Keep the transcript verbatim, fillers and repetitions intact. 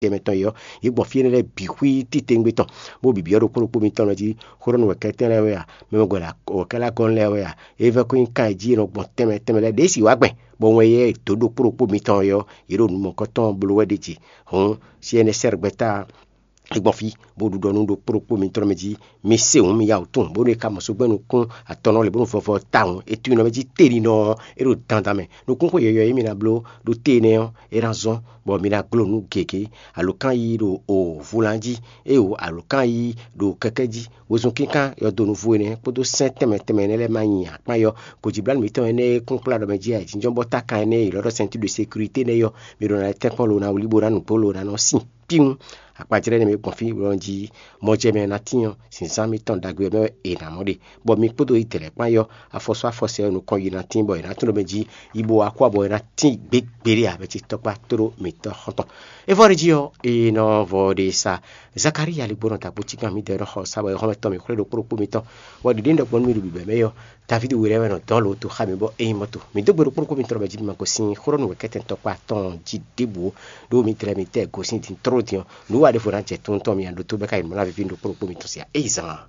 tɛnmɛ tɔn é ɔ́, yě gbɔn fí énɛ́ lɛ́ɛ bǐ xwí titewungbe tɔn, bó bǐ byɔ́ ɖo kpóɖokpó mitɔn mɛ jí. Xó ɖɔ nú wɛ̌kɛ́tɛ́n lɛ́ɛ wɛ a, mɛ wɛ wɛ̌kɛ́lagɔ́n lɛ́ɛ wɛ a, é vɛ́ kó nyí kan e jí è nɔ gbɔn tɛnmɛ tɛnmɛ lɛ́ɛ ɖě si wá gbɛn, bɔ wɛn yɛ dǒ ɖo kpóɖokpó mitɔn é ɔ́, yě ɖo nǔ mɔ̌kɔtɔn bló wɛ ɖ'é jí. Hǔn, Siɛnɛsɛ́r gbɛ́ta é gbɔn fí, bó ɖu ɖɔ nú ɖokpó ɖokpó mitɔn mɛ jí: Mi se wǔ, mi ya wǔ tunwun, bónú è ka mɔ só gbɛ́ nukún atɔnnɔ lě bónú vɔvɔ tawun é tunwun nɔ mɛ jí telinɔ ɔ́, é ɖo dandan mɛ. Nukúnxó yɔ̌yɔ́ e mi ná bló ɖó te énɛ́ ɔ́, é ná zɔ́n, bɔ mi ná glo nǔ gěgé, alǒkan yíyí ɖo o vulan jí, éeǒ, alǒkan yíyí ɖo kɛkɛ́ jí, wezun kínkán yɔdonu vo énɛ́ kpódó sɛ́n tɛnmɛ tɛnmɛ énɛ́ lɛ́ɛ ma nyi akpán yɔ. Gǒjíblánú mǐtɔn énɛ́ e kún kplá ɖɔ mɛ jí ayǐjínjɔ́n bɔ tákan énɛ́ e è lɔ́ ɖɔ ceinture de sécurité nɛ́ yɔ, mi ɖo ná lɛ́ tɛ́nkpɔ́n lo ná wlí bó ná nǔgbó lo ná nɔ sín. Píwún, akpajlɛ́ nɛ́ mɛ gbɔn fí bɔ jí mɔjɛmɛ ná tín ɔ́, zǐnzán mitɔn ɖagbe ɔ́ mɛ wɛ è nǎ mɔ ɖe, bɔ mi kpódó yi dɛ̌lɛ́ kpán yɔ, afɔsú afɔsɛ ɔ́ nukɔn yi ná tín, bɔ è nǎ tunwun ɖɔ mɛ jí yi bo wá kú abɔ è nǎ tín gběgbéɖé ǎ, mɛ ce tɔkpá tóɖó mǐtɔn xɔ́ntɔn. É vɔ ɖ'é jí ɔ́, è nɔ vɔ ɖe sa Zakalíya ligbó nɔ dagbo cíkan mǐdɛɛ nɔ xɔ sa bɔ é xɔ́mɛ tɔn mǐ xwlé ɖokpó ɖokpó mitɔn, bɔ ɖiɖe ɖɔ gbɔn nú mì ɖo bǐbɛ́ mɛ ɔ́, Davídi we lɛ́ɛ wɛ nɔ dɔn lǒ dó xá mi bɔ é nyí mɔto. Mǐ dó gbe ɖokpó ɖokpó mitɔn mɛ jí mi ma gosín xó ɖɔ nú wɛ̌kɛ́tɛn tɔkpá tɔn jí ɖěbǔ ó, ɖó mi tlɛ mi tɛ gosín din tló din ɔ́, nǔ wa ɖěvo ná jɛ tunwun tɔn mi ǎ ɖótó bɔ é ka yi nǔ ná víví ɖokpó ɖokpó mitɔn sia é yi zan.